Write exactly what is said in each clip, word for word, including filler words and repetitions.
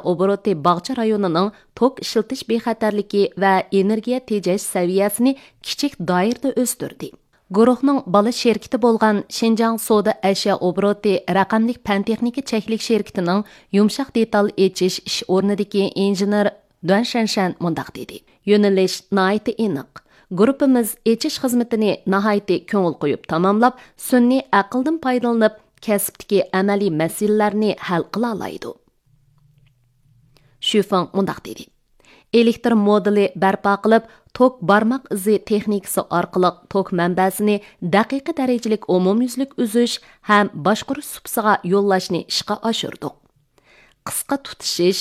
ئوبوروتى باغچە رايونىنىڭ توك ئىشلىتىش بىخەتەرلىكى ۋە ئېنېرگىيە تېجەش سەۋىيەسىنى كىچىك دائىرىدە ئۆستۈردى. گۇرۇھنىڭ بالا شىركىتى بولغان شىنجاڭ سودا ئەشيا ئوبوروتى رەقەملىك پەن تېخنىكا چەكلىك شىركىتىنىڭ يۇمشاق دېتال ئېچىش ئىش ئورنىدىكى ئىنژېنېر دۇەن شەنشەن مۇنداق دېدى: يۆنىلىش ناھايىتى ئېنىق. گۇرۇپپىمىز ئېچىش خىزمىتىنى ناھايىتى كۆڭۈل قويۇپ تاماملاپ، سۈنئىي ئەقىلدىن پايدىلىنىپ، كەسىپتىكى ئەمەلىي مەسىلىلەرنى ھەل قىلالايدۇ. شۈفېڭ مۇنداق دېدى: ئېلېكتر مودېلى بەرپا قىلىپ، توك بارماق ئىزى تېخنىكىسى ئارقىلىق توك مەنبەسىنى دەقىقە دەرىجىلىك ئومۇميۈزلۈك ئۈزۈش ھەم باشقۇرۇش سۇپىسىغا يوللاشنى ئىشقا ئاشۇردۇق. قىسقا تۇتىشىش،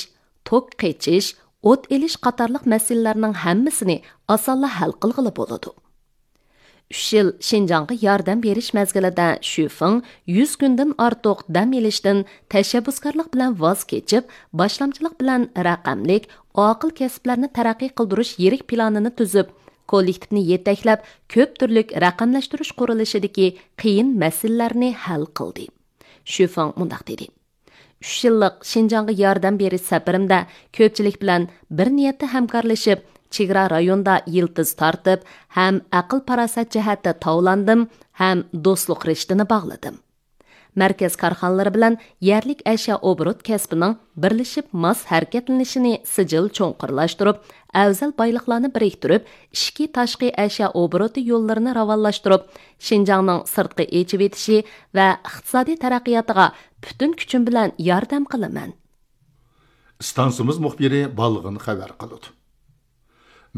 توك قېچىش، ئوت ئېلىش قاتارلىق مەسىلىلەرنىڭ ھەممىسىنى ئاسانلا ھەل قىلغىلى بولىدۇ. ئۈچ يىل شىنجاڭغا ياردەم بېرىش مەزگىلىدە شۈفېڭ يۈز كۈندىن ئارتۇق دەم ئېلىشتىن تەشەببۇسكارلىق بىلەن ۋاز كېچىپ، باشلامچىلىق بىلەن رەقەملىك، ئاقىل كەسىپلەرنى تەرەققىي قىلدۇرۇش يىرىك پىلانىنى تۈزۈپ، كوللېكتىپنى يېتەكلەپ، كۆپ تۈرلۈك رەقەملەشتۈرۈش قۇرۇلۇشىدىكى قىيىن مەسىلىلەرنى ھەل قىلدى. شۈفېڭ مۇنداق دېدى: ئۈچ يىللىق شىنجاڭغا ياردەم بېرىش سەپىرىمدە كۆپچىلىك بىلەن بىر نىيەتتە ھەمكارلىشىپ، چېگرا رايوندا يىلتىز تارتىپ، ھەم ئەقىل-پاراسەت جەھەتتە تاۋلاندىم، ھەم دوستلۇق رىشتىنى باغلىدىم. مەركەز كارخانىلىرى بىلەن يەرلىك ئەشيا ئوبوروت كەسپىنىڭ بىرلىشىپ ماس ھەرىكەتلىنىشىنى سىجىل چوڭقۇرلاشتۇرۇپ، ئەۋزەل بايلىقلارنى بىرىكتۈرۈپ، ئىچكى تاشقى ئەشيا ئوبوروتى يوللىرىنى راۋانلاشتۇرۇپ، شىنجاڭنىڭ سىرتقا ئېچىۋېتىشى ۋە ئىقتىسادىي تەرەققىياتىغا پۈتۈن كۈچۈم بىلەن ياردەم قىلىمەن. ئىستانسىمىز مۇخبىرى بالغىن خەۋەر قىلىدۇ.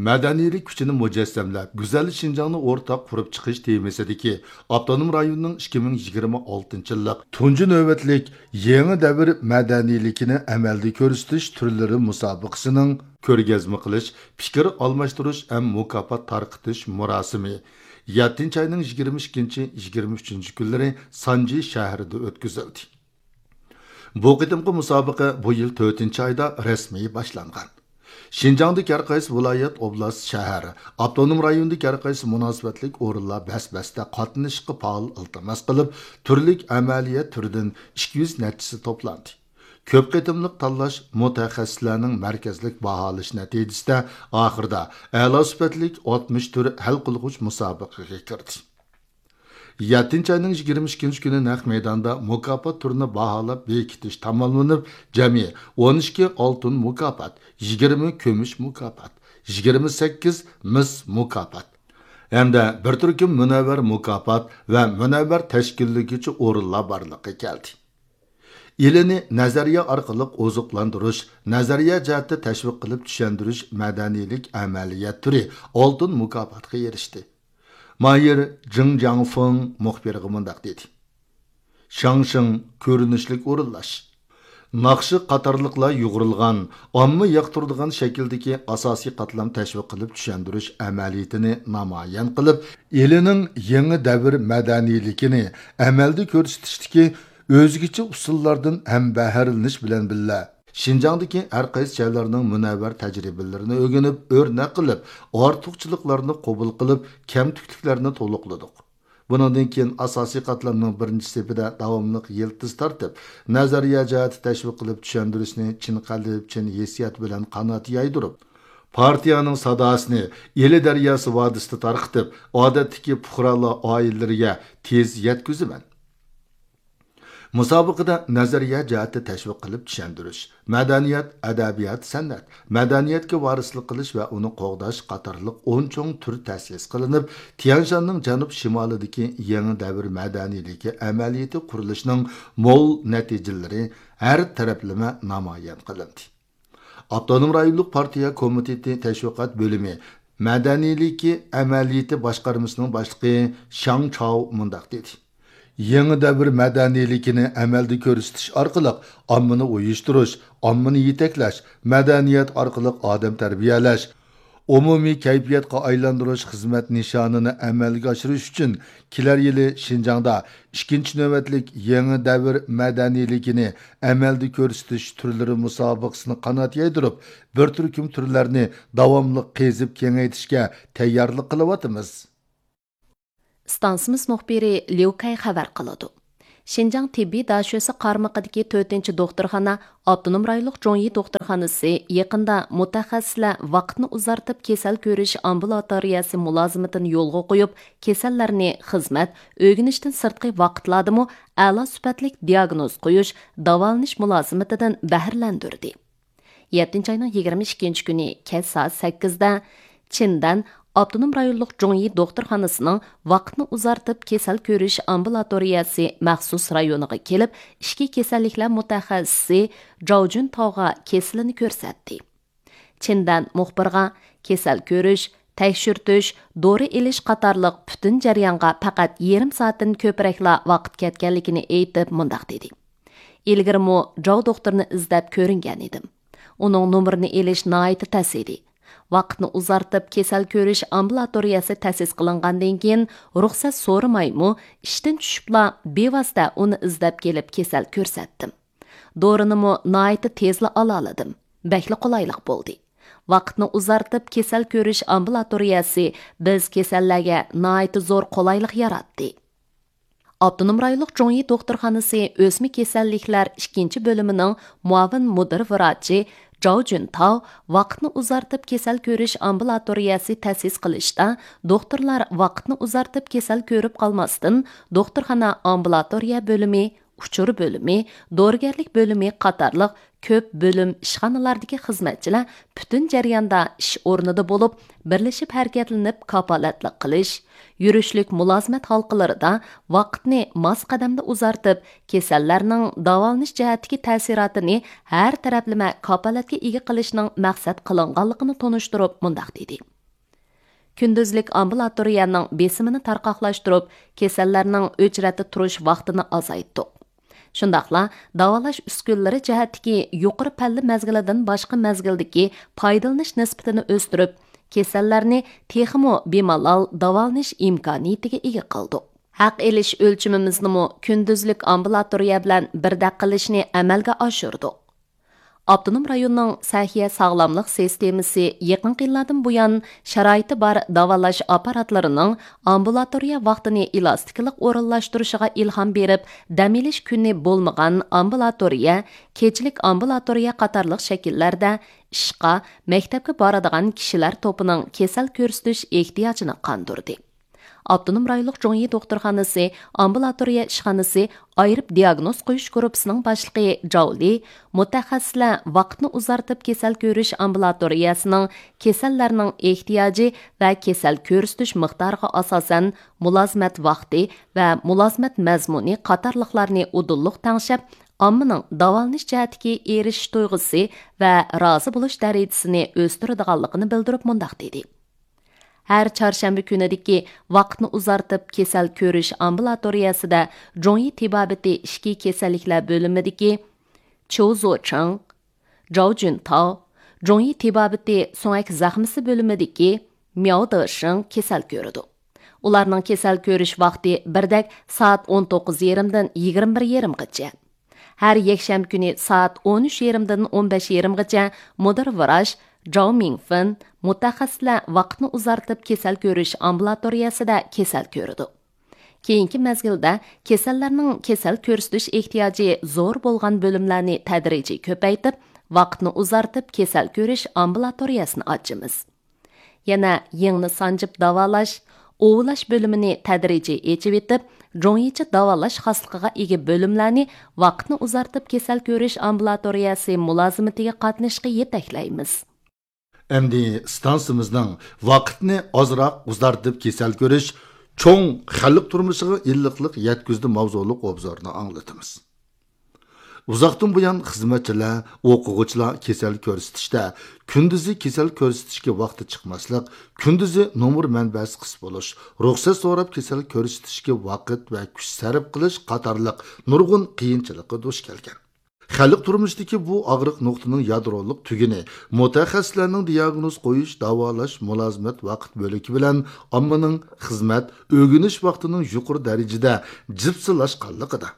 مەدەنىيلىك كۈچىنى مۇجەسسەملەپ، گۈزەل شىنجاڭنى ئورتاق قۇرۇپ چىقىش تېمىسىدىكى ئاپتونوم رايوننىڭ ئىككى مىڭ يىگىرمە ئالتىنچى يىللىق تۇنجى نۆۋەتلىك يېڭى دەۋر مەدەنىيلىكىنى ئەمەلدە كۆرسىتىش تۈرلىرى مۇسابىقىسىنىڭ كۆرگەزمە قىلىش، پىكىر ئالماشتۇرۇش ھەم مۇكاپات تارقىتىش مۇراسىمى يەتتىنچى ئاينىڭ يىگىرمە ئىككىنچى، يىگىرمە ئۈچىنچى كۈنلىرى سانجى شەھىرىدە ئۆتكۈزۈلدى. بۇ قېتىمقى مۇسابىقە بۇ يىل تۆتىنچى ئايدا رەسمىي باشلانغان. شىنجاڭدىكى ھەر قايسى ۋىلايەت، ئوبلاست، شەھەر، ئاپتونوم رايوندىكى ھەر قايسى مۇناسىۋەتلىك ئورۇنلار بەس-بەستە قاتنىشىشقا پائال ئىلتىماس قىلىپ، تۈرلۈك ئەمەلىيەت تۈرىدىن ئىككى يۈز نەچچىسى توپلاندى. كۆپ قېتىملىق تاللاش مۇتەخەسسىسلەرنىڭ مەركەزلىك باھالاش نەتىجىسىدە ئاخىرىدا ئەلا سۈپەتلىك ئاتمىش تۈر ھەل قىلغۇچ مۇسابىقىگە كىردى. يەتتىنچى ئاينىڭ يىگىرمە ئىككىنچى كۈنى نەق مەيداندا مۇكاپات تۈرىنى باھالاپ بېكىتىش تاماملىنىپ، جەمئىي ئون ئىككى ئالتۇن مۇكاپات، يىگىرمە كۈمۈش مۇكاپات، يىگىرمە سەككىز مىس مۇكاپات ھەمدە بىر تۈركۈم مۇنەۋۋەر مۇكاپات ۋە مۇنەۋۋەر تەشكىللىگۈچى ئورۇنلار بارلىققا كەلدى. ئىلىنى نەزەرىيە ئارقىلىق ئوزۇقلاندۇرۇش، نەزەرىيە جەھەتتە تەشۋىق قىلىپ چۈشەندۈرۈش مەدەنىيلىك ئەمەلىيەت تۈرى ئالتۇن مۇكاپاتقا ئېرىشتى. ماھىر جېڭ جياڭفېڭ مۇخبىرغا مۇنداق دېدى: شاڭشىڭ، كۆرۈنۈشلۈك ئورۇنلاش، ناخشا قاتارلىقلار يۇغۇرۇلغان، ئامما ياقتۇرىدىغان شەكىلدىكى ئاساسىي قاتلام تەشۋىق قىلىپ چۈشەندۈرۈش ئەمەلىيىتىنى نامايان قىلىپ، ئىلىنىڭ يېڭى دەۋر مەدەنىيلىكىنى ئەمەلدە كۆرسىتىشتىكى ئۆزگىچە ئۇسۇللاردىن ھەمبەھىرلىنىش بىلەن بىللە، شىنجاڭدىكى ھەر قايسى جايلارنىڭ مۇنەۋۋەر تەجرىبىلىرىنى ئۆگىنىپ، ئۆرنەك قىلىپ، ئارتۇقچىلىقلارنى قوبۇل قىلىپ، كەمتۈكلۈكلەرنى تولۇقلىدۇق. بۇنىڭدىن كېيىن ئاساسىي قاتلامنىڭ بىرىنچى سېپىدە داۋاملىق يىلتىز تارتىپ، نەزەرىيە جەھەتتە تەشۋىق قىلىپ چۈشەندۈرۈشنى چىن قەلب، چىن ھېسسىيات بىلەن قانات يايدۇرۇپ، پارتىيەنىڭ ساداسىنى ئىلى دەرياسى ۋادىسىدا تارقىتىپ، ئادەتتىكى پۇقرالار ئائىلىلىرىگە تېز يەتكۈزىمەن. مۇسابىقىدە نەزەرىيە جەھەتتە تەشۋىق قىلىپ چۈشەندۈرۈش، مەدەنىيەت، ئەدەبىيات، سەنئەت، مەدەنىيەتكە ۋارىسلىق قىلىش ۋە ئۇنى قوغداش قاتارلىق ئون چوڭ تۈر تەسىس قىلىنىپ، تيەنشاننىڭ جەنۇب شىمالىدىكى يېڭى دەۋر مەدەنىيلىكى ئەمەلىيىتى قۇرۇلۇشىنىڭ مول نەتىجىلىرى ھەر تەرەپلىمە نامايان قىلىندى. ئاپتونوم رايونلۇق پارتىيە كومىتېتى تەشۋىقات بۆلۈمى مەدەنىيلىكى ئەمەلىيىتى باشقارمىسىنىڭ باشلىقى شاڭ چاۋ مۇنداق دېدى: يېڭى دەۋر مەدەنىيلىكىنى ئەمەلدە كۆرسىتىش ئارقىلىق ئاممىنى ئۇيۇشتۇرۇش، ئاممىنى يېتەكلەش، مەدەنىيەت ئارقىلىق ئادەم تەربىيەلەش، ئومۇمىي كەيپىياتقا ئايلاندۇرۇش خىزمەت نىشانىنى ئەمەلگە ئاشۇرۇش ئۈچۈن كېلەر يىلى شىنجاڭدا ئىككىنچى نۆۋەتلىك يېڭى دەۋر مەدەنىيلىكىنى ئەمەلدە كۆرسىتىش تۈرلىرى مۇسابىقىسىنى قانات يايدۇرۇپ، بىر تۈركۈم تۈرلەرنى داۋاملىق قېزىپ كېڭەيتىشكە تەييارلىق قىلىۋاتىمىز. ئىستانسىمىز مۇخبىرى ليۇ كەي خەۋەر قىلىدۇ. شىنجاڭ تېببىي داشۆسى قارمىقىدىكى تۆتىنچى دوختۇرخانا، ئاپتونوم رايونلۇق جۇڭيى دوختۇرخانىسى يېقىندا مۇتەخەسسىسلەر ۋاقىتنى ئۇزارتىپ كېسەل كۆرۈش ئامبۇلاتورىيەسى مۇلازىمىتىنى يولغا قويۇپ، كېسەللەرنى خىزمەت، ئۆگىنىشتىن سىرتقى ۋاقىتلاردىمۇ ئەلا سۈپەتلىك دىئاگنوز قويۇش، داۋالىنىش مۇلازىمىتىدىن بەھرىلەندۈردى. يەتتىنچى ئاينىڭ يىگىرمە ئىككىنچى كۈنى كەچ سائەت سەككىزدە چىندەن ئاپتونوم رايونلۇق جۇڭيى دوختۇرخانىسىنىڭ ۋاقىتنى ئۇزارتىپ كېسەل كۆرۈش ئامبۇلاتورىيەسى مەخسۇس رايونىغا كېلىپ، ئىچكى كېسەللىكلەر مۇتەخەسسىسى جاۋ جۈنتاۋغا كېسىلىنى كۆرسەتتى. چىندەن مۇخبىرغا كېسەل كۆرۈش، تەكشۈرتۈش، دورا ئېلىش قاتارلىق پۈتۈن جەريانغا پەقەت يېرىم سائەتتىن كۆپرەكلا ۋاقىت كەتكەنلىكىنى ئېيتىپ، مۇنداق دېدى: ئىلگىرىمۇ جاۋ دوختۇرنى ئىزدەپ كۆرۈنگەن ئىدىم. ئۇنىڭ نومۇرىنى ئېلىش ناھايىتى تەس ئىدى. ۋاقىتنى ئۇزارتىپ، كېسەل كۆرۈش ئامبۇلاتورىيەسى تەسىس قىلىنغاندىن كېيىن، رۇخسەت سورىمايمۇ، ئىشتىن چۈشۈپلا بىۋاسىتە ئۇنى ئىزدەپ كېلىپ كېسەل كۆرسەتتىم. دورىنىمۇ ناھايىتى تېزلا ئالالىدىم. بەكلا قولايلىق بولدى. ۋاقىتنى ئۇزارتىپ، كېسەل كۆرۈش ئامبۇلاتورىيەسى بىز كېسەللەرگە ناھايىتى زور قولايلىق ياراتتى. ئاپتونوم رايونلۇق جۇڭيى دوختۇرخانىسى ئۆسمە كېسەللىكلەر ئىككىنچى بۆلۈمىنىڭ مۇئاۋىن مۇدىر ۋراچى جاۋ جۈنتاۋ ۋاقىتنى ئۇزارتىپ كېسەل كۆرۈش ئامبۇلاتورىيەسى تەسىس قىلىشتا، دوختۇرلار ۋاقىتنى ئۇزارتىپ كېسەل كۆرۈپ قالماستىن، دوختۇرخانا ئامبۇلاتورىيە بۆلۈمى، ئۇچۇر بۆلۈمى، دورىگەرلىك بۆلۈمى قاتارلىق كۆپ بۆلۈم، ئىشخانىلاردىكى خىزمەتچىلەر پۈتۈن جەرياندا ئىش ئورنىدا بولۇپ، بىرلىشىپ ھەرىكەتلىنىپ كاپالەتلىك قىلىش، يۈرۈشلۈك مۇلازىمەت ھالقىلىرىدا ۋاقىتنى ماس قەدەمدە ئۇزارتىپ، كېسەللەرنىڭ داۋالىنىش جەھەتتىكى تەسىراتىنى ھەر تەرەپلىمە كاپالەتكە ئىگە قىلىشنىڭ مەقسەت قىلىنغانلىقىنى تونۇشتۇرۇپ، مۇنداق دېدى: كۈندۈزلۈك ئامبۇلاتورىيەنىڭ بېسىمىنى تارقاقلاشتۇرۇپ، كېسەللەرنىڭ ئۆچرەتتە تۇرۇش ۋاقتىنى ئازايتتۇق. شۇنداقلا داۋالاش ئۈسكۈنىلىرى جەھەتتىكى يۇقىرى پەللە مەزگىلىدىن باشقا مەزگىلدىكى پايدىلىنىش نىسبىتىنى ئۆستۈرۈپ، كېسەللەرنى تېخىمۇ بىمالال داۋالىنىش ئىمكانىيىتىگە ئىگە قىلدۇق. ھەق ئېلىش ئۆلچىمىمىزنىمۇ كۈندۈزلۈك ئامبۇلاتورىيە بىلەن بىردەك قىلىشنى ئەمەلگە ئاشۇردۇق. ئاپتونوم رايوننىڭ سەھىيە ساغلاملىق سىستېمىسى يېقىنقى يىللاردىن بۇيان شارائىتى بار داۋالاش ئاپپاراتلىرىنىڭ ئامبۇلاتورىيە ۋاقتىنى ئېلاستىكىلىق ئورۇنلاشتۇرۇشىغا ئىلھام بېرىپ، دەم ئېلىش كۈنى بولمىغان ئامبۇلاتورىيە، كېچىلىك ئامبۇلاتورىيە قاتارلىق شەكىللەردە ئىشقا، مەكتەپكە بارىدىغان كىشىلەر توپىنىڭ كېسەل كۆرسىتىش ئېھتىياجىنى قاندۇردى. ئاپتونوم رايونلۇق جۇڭيى دوختۇرخانىسى ئامبۇلاتورىيە ئىشخانىسى ئايرىپ دىئاگنوز قويۇش گۇرۇپپىسىنىڭ باشلىقى جاۋ لى مۇتەخەسسىسلەر ۋاقىتنى ئۇزارتىپ كېسەل كۆرۈش ئامبۇلاتورىيەسىنىڭ كېسەللەرنىڭ ئېھتىياجى ۋە كېسەل كۆرسىتىش مىقدارىغا ئاساسەن مۇلازىمەت ۋاقتى ۋە مۇلازىمەت مەزمۇنى قاتارلىقلارنى ئۇدۇللۇق تەڭشەپ، ئاممىنىڭ داۋالىنىش جەھەتتىكى ئېرىشىش تۇيغۇسى ۋە رازى بولۇش دەرىجىسىنى ئۆستۈرىدىغانلىقىنى بىلدۈرۈپ مۇنداق دېدى: ھەر چارشەنبە كۈنىدىكى ۋاقىتنى ئۇزارتىپ كېسەل كۆرۈش ئامبۇلاتورىيەسىدە جۇڭيى تېبابىتى ئىچكى كېسەللىكلەر بۆلۈمىدىكى چيۇ زوچېڭ، جاۋ جۈنتاۋ، جۇڭيى تېبابىتى سۆڭەك زەخمىسى بۆلۈمىدىكى مياۋ دېشىڭ كېسەل كۆرىدۇ. ئۇلارنىڭ كېسەل كۆرۈش ۋاقتى بىردەك سائەت ئون توققۇز يېرىمدىن يىگىرمە بىر يېرىمغىچە. ھەر يەكشەنبە كۈنى سائەت ئون ئۈچ يېرىمدىن ئون بەش يېرىمغىچە مۇدىر ۋراچ جاۋ مىڭفېن، مۇتەخەسسىسلەر ۋاقىتنى ئۇزارتىپ كېسەل كۆرۈش ئامبۇلاتورىيەسىدە كېسەل كۆرىدۇ. كېيىنكى مەزگىلدە كېسەللەرنىڭ كېسەل كۆرسىتىش ئېھتىياجى زور بولغان بۆلۈملەرنى تەدرىجىي كۆپەيتىپ، ۋاقىتنى ئۇزارتىپ كېسەل كۆرۈش ئامبۇلاتورىيەسىنى ئاچىمىز. يەنە يىڭنە سانجىپ داۋالاش، ئۇۋۇلاش بۆلۈمىنى تەدرىجىي ئېچىۋېتىپ، جۇڭيىچە داۋالاش خاسلىقىغا ئىگە بۆلۈملەرنى ۋاقىتنى ئۇزارتىپ كېسەل كۆرۈش ئامبۇلاتورىيەسى مۇلازىمىتىگە قاتنىشىشقا يېتەكلەيمىز. ئەمدى ئىستانسىمىزنىڭ ۋاقىتنى ئازراق ئۇزارتىپ كېسەل كۆرۈش چوڭ خەلق تۇرمۇشىغا ئىللىقلىق يەتكۈزدى ماۋزۇلۇق ئوبزورنى ئاڭلىتىمىز. ئۇزاقتىن بۇيان خىزمەتچىلەر، ئوقۇغۇچىلار كېسەل كۆرسىتىشتە كۈندۈزى كېسەل كۆرسىتىشكە ۋاقتى چىقماسلىق، كۈندۈزى نومۇر مەنبەسى قىس بولۇش، رۇخسەت سوراپ كېسەل كۆرسىتىشكە ۋاقىت ۋە كۈچ سەرپ قىلىش قاتارلىق نۇرغۇن قىيىنچىلىققا دۇچ كەلگەن. خەلق تۇرمۇشىدىكى بۇ ئاغرىق نۇقتىنىڭ يادرولۇق تۈگۈنى مۇتەخەسسىسلەرنىڭ دىئاگنوز قويۇش، داۋالاش، مۇلازىمەت ۋاقىت بۆلىكى بىلەن ئاممىنىڭ خىزمەت، ئۆگىنىش ۋاقتىنىڭ يۇقىرى دەرىجىدە جىپسىلاشقانلىقىدا.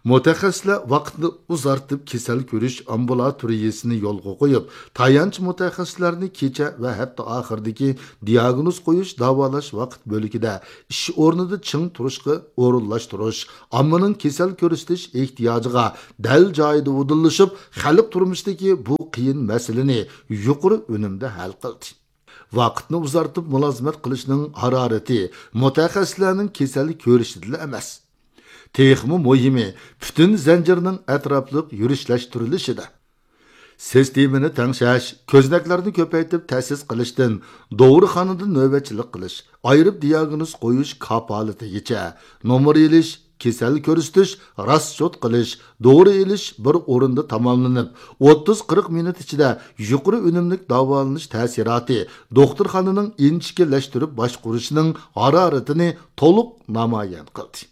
مۇتەخەسسىسلەر ۋاقىتنى ئۇزارتىپ كېسەل كۆرۈش ئامبۇلاتورىيىسىنى يولغا قويۇپ، تايانچ مۇتەخەسسىسلەرنى كېچە ۋە ھەپتە ئاخىرىدىكى دىئاگنوز قويۇش، داۋالاش ۋاقىت بۆلىكىدە ئىش ئورنىدا چىڭ تۇرۇشقا ئورۇنلاشتۇرۇش، ئاممىنىڭ كېسەل كۆرسىتىش ئېھتىياجىغا دەل جايىدا ئۇدۇللىشىپ، خەلق تۇرمۇشىدىكى بۇ قىيىن مەسىلىنى يۇقىرى ئۈنۈمدە ھەل قىلدى. ۋاقىتنى ئۇزارتىپ مۇلازىمەت قىلىشنىڭ ھارارىتى مۇتەخەسسىسلەرنىڭ كېسەل كۆرۈشىدىلا ئەمەس. تېخىمۇ مۇھىمى، پۈتۈن زەنجىرنىڭ ئەتراپلىق يۈرۈشلەشتۈرۈلۈشىدە. سىستېمىنى تەڭشەش، كۆزنەكلەرنى كۆپەيتىپ تەسىس قىلىشتىن، دورىخانىدا نۆۋەتچىلىك قىلىش، ئايرىپ دىئاگنوز قويۇش كاپالىتىگىچە، نومۇر ئېلىش، كېسەل كۆرسىتىش، راسچوت قىلىش، دورا ئېلىش بىر ئورۇندا تاماملىنىپ، ئوتتۇز قىرىق مىنۇت ئىچىدە يۇقىرى ئۈنۈملۈك داۋالىنىش تەسىراتى دوختۇرخانىنىڭ ئىنچىكىلەشتۈرۈپ باشقۇرۇشىنىڭ ھارارىتىنى تولۇق نامايان قىلدى.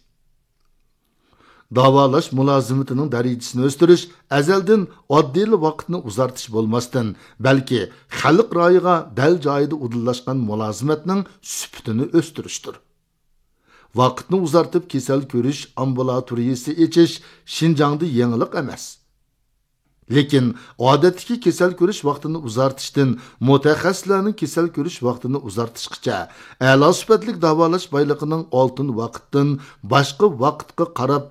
داۋالاش مۇلازىمىتىنىڭ دەرىجىسىنى ئۆستۈرۈش ئەزەلدىن ئاددىيلا ۋاقىتنى ئۇزارتىش بولماستىن، بەلكى خەلق رايىغا دەل جايىدا ئۇدۇللاشقان مۇلازىمەتنىڭ سۈپىتىنى ئۆستۈرۈشتۇر. ۋاقىتنى ئۇزارتىپ كېسەل كۆرۈش ئامبۇلاتورىيىسى ئېچىش شىنجاڭدا يېڭىلىق ئەمەس. لېكىن ئادەتتىكى كېسەل كۆرۈش ۋاقتىنى ئۇزارتىشتىن مۇتەخەسسىسلەرنىڭ كېسەل كۆرۈش ۋاقتىنى ئۇزارتىشقىچە، ئەلا سۈپەتلىك داۋالاش بايلىقىنىڭ ئالتۇن ۋاقىتتىن باشقا ۋاقىتقا قاراپ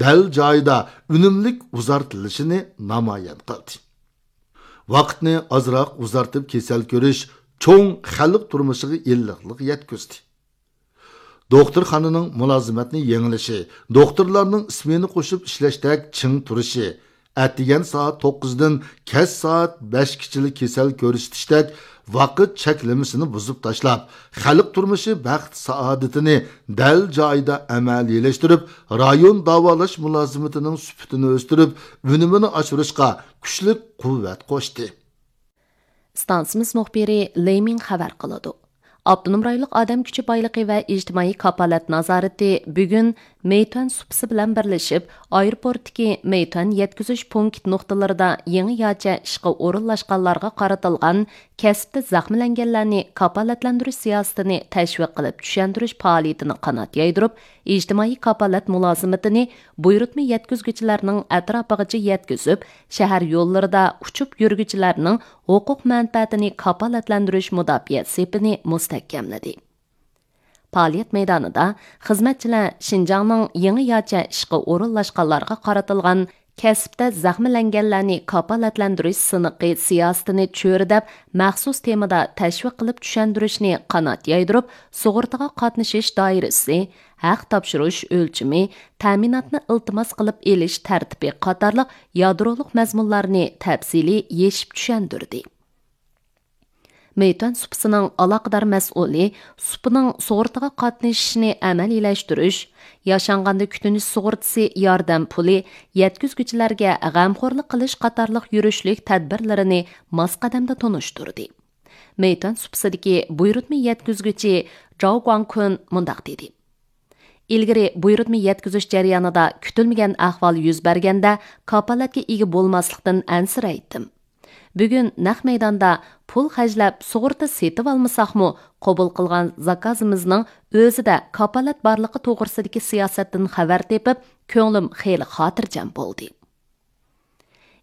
دەل جايىدا ئۈنۈملۈك ئۇزارتىلىشىنى نامايان قىلدى. ۋاقىتنى ئازراق ئۇزارتىپ كېسەل كۆرۈش چوڭ خەلق تۇرمۇشىغا ئىللىقلىق يەتكۈزدى. دوختۇرخانىنىڭ مۇلازىمەتنى يېڭىلىشى، دوختۇرلارنىڭ سمېنا قوشۇپ ئىشلەشتەك چىڭ تۇرۇشى، ئەتىگەن سائەت توققۇزدىن كەچ سائەت بەشكىچىلا كېسەل كۆرسىتىشتەك ۋاقىت چەكلىمىسىنى بۇزۇپ تاشلاپ، خەلق تۇرمۇشى بەخت-سائادىتىنى دەل جايىدا ئەمەلىيلەشتۈرۈپ، رايون داۋالاش مۇلازىمىتىنىڭ سۈپىتىنى ئۆستۈرۈپ، ئۈنۈمىنى ئاشۇرۇشقا كۈچلۈك قۇۋۋەت قوشتى. ئىستانسىمىز مۇخبىرى لېي مىڭ خەۋەر قىلىدۇ. ئاپتونوم رايونلۇق ئادەم كۈچى بايلىقى ۋە ئىجتىمائىي كاپالەت نازارىتى بۈگۈن مېيتۈەن سۇپىسى بىلەن بىرلىشىپ، ئايروپورتتىكى مېيتۈەن يەتكۈزۈش پونكىت نۇقتىلىرىدا يېڭىچە ئىشقا ئورۇنلاشقانلارغا قارىتىلغان كەسىپتە زەخىملەنگەنلەرنى كاپالەتلەندۈرۈش سىياسىتىنى تەشۋىق قىلىپ چۈشەندۈرۈش پائالىيىتىنى قانات يايدۇرۇپ، ئىجتىمائىي كاپالەت مۇلازىمىتىنى بۇيرۇتما يەتكۈزگۈچىلەرنىڭ ئەتراپىغىچە يەتكۈزۈپ، شەھەر يوللىرىدا ئۇچۇپ يۈرگۈچىلەرنىڭ ھوقۇق مەنپەئەتىنى كاپالەتلەندۈرۈش مۇداپىئە سېپىنى مۇستەھكەملىدى. پائالىيەت مەيدانىدا خىزمەتچىلەر شىنجاڭنىڭ يېڭىچە ئىشقا ئورۇنلاشقانلارغا قارىتىلغان كەسىپتە زەخىملەنگەنلەرنى كاپالەتلەندۈرۈش سىنىقى سىياسىتىنى چۆرىدەپ، مەخسۇس تېمىدا تەشۋىق قىلىپ چۈشەندۈرۈشنى قانات يايدۇرۇپ، سۇغۇرتىغا قاتنىشىش دائىرىسى، ھەق تاپشۇرۇش ئۆلچىمى، تەمىناتنى ئىلتىماس قىلىپ ئېلىش تەرتىپى قاتارلىق يادرولۇق مەزمۇنلارنى تەپسىلىي يېشىپ چۈشەندۈردى. مېيتۈەن سۇپىسىنىڭ ئالاقىدار مەسئۇلى سۇپىنىڭ سۇغۇرتىغا قاتنىشىشنى ئەمەلىيلەشتۈرۈش، ياشانغاندا كۈتۈنۈش سۇغۇرتىسى ياردەم پۇلى، يەتكۈزگۈچىلەرگە غەمخورلۇق قىلىش قاتارلىق يۈرۈشلۈك تەدبىرلىرىنى ماس قەدەمدە تونۇشتۇردى. مېيتۈەن سۇپىسىدىكى بۇيرۇتما يەتكۈزگۈچى جاۋ گۇاڭكۈن مۇنداق دېدى: ئىلگىرى بۇيرۇتما يەتكۈزۈش جەريانىدا كۈتۈلمىگەن ئەھۋال يۈز بەرگەندە، كاپالەتكە ئىگە بولماسلىقتىن ئەنسىرەيتتىم. بۈگۈن نەق مەيداندا پۇل خەجلەپ سۇغۇرتا سېتىۋالمىساقمۇ، قوبۇل قىلغان زاكازىمىزنىڭ ئۆزىدە كاپالەت بارلىقى توغرىسىدىكى سىياسەتتىن خەۋەر تېپىپ، كۆڭلۈم خېلى خاتىرجەم بولدى.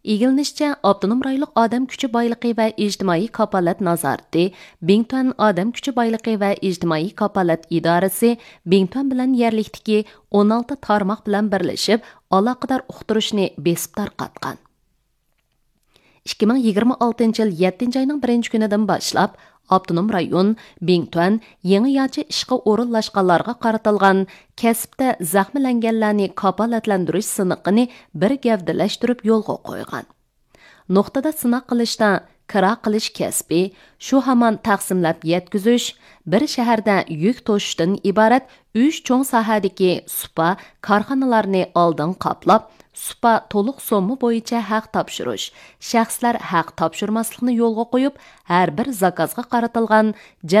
ئىگىلىنىشىچە، ئاپتونوم رايونلۇق ئادەم كۈچى بايلىقى ۋە ئىجتىمائىي كاپالەت نازارىتى، بىڭتۈەن ئادەم كۈچى بايلىقى ۋە ئىجتىمائىي كاپالەت ئىدارىسى بىڭتۈەن بىلەن يەرلىكتىكى ئون ئالتە تارماق بىلەن بىرلىشىپ، ئالاقىدار ئۇقتۇرۇشنى بېسىپ تارقاتقان. ئىككى مىڭ يىگىرمە ئالتىنچى يىل يەتتىنچى ئاينىڭ بىرىنچى كۈنىدىن باشلاپ، ئاپتونوم رايون، بىڭتۈەن يېڭىچە ئىشقا ئورۇنلاشقانلارغا قارىتىلغان كەسىپتە زەخىملەنگەنلەرنى كاپالەتلەندۈرۈش سىنىقىنى بىر گەۋدىلەشتۈرۈپ يولغا قويغان. نۇقتىدا سىناق قىلىشتا كىرا قىلىش كەسپى، شۇ ھامان تەقسىملەپ يەتكۈزۈش، بىر شەھەردە يۈك توشۇشتىن ئىبارەت ئۈچ چوڭ ساھەدىكى سۇپا كارخانىلارنى ئالدىن قاپلاپ، سۇپا تولۇق سومما بويىچە ھەق تاپشۇرۇش، شەخسلەر ھەق تاپشۇرماسلىقنى يولغا قويۇپ، ھەر بىر زاكازغا قارىتىلغان جەز